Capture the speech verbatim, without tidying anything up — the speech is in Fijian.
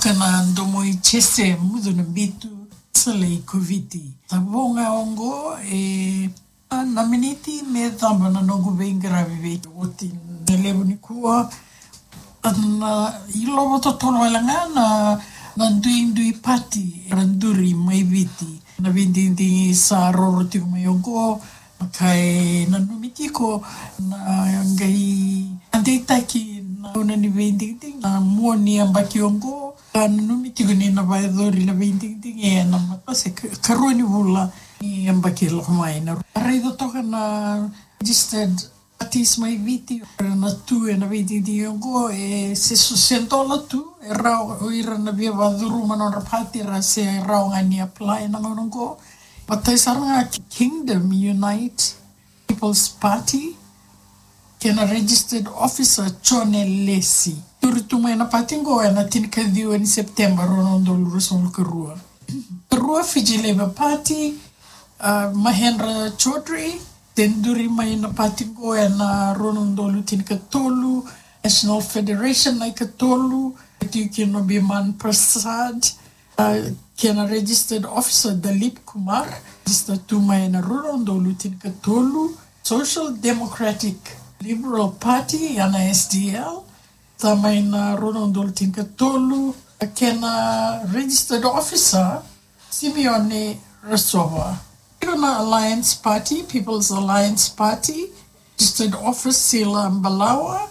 Kena domo i Jese Mucu na Bitu, Salei Koviti. Sa vo ga oqo e, a, na miniti me cava na noqu veiqaravi vei oti na levu nikua. Na ilovo totolo wale ga na, na duidui pati era duri mai Viti. Na veidigidigi sa roro tiko mai oqo, ka e nanumi tiko na qai a deitaki na gauna ni veidigidigi na mua ni yabaki oqo. Ka nanumi tiko ni na vakayacori na veidigidigi ena mata se ka-, karua ni vula ni yabaki lako mai. Na raica toka na registered parties mai Viti era na tu ena veidigidigi oqo, e se so se dola tu, e rawa o ira na via vakacuruma nodra pati era se rawa ga ni apply na gauna oqo. Matai sara ga Kingdom Unite People's Party, kei na registered officer Jone Lesi. Duri tu mai na pati oqo ena tinikaciwa ni September rua na udolu ruasagavulu karua. Karua Fiji Labour Party, a, Mahendra Chaudhry, se duri mai na pati oqo ena rua na udolu tinikatolu. National Federation na ikatolu, tiko kina o Biman Prasad, a, kei na registered officer Dalip Kumar, register tu mai na rua na udolu tinikatolu. Social Democratic Liberal Party, ya na S D L, sa mai na rua na udolu tinikatolu, kei na registered officer Simeone Rasova. Tiko na Alliance Party, People's Alliance Party, registered officer Sila Balawa,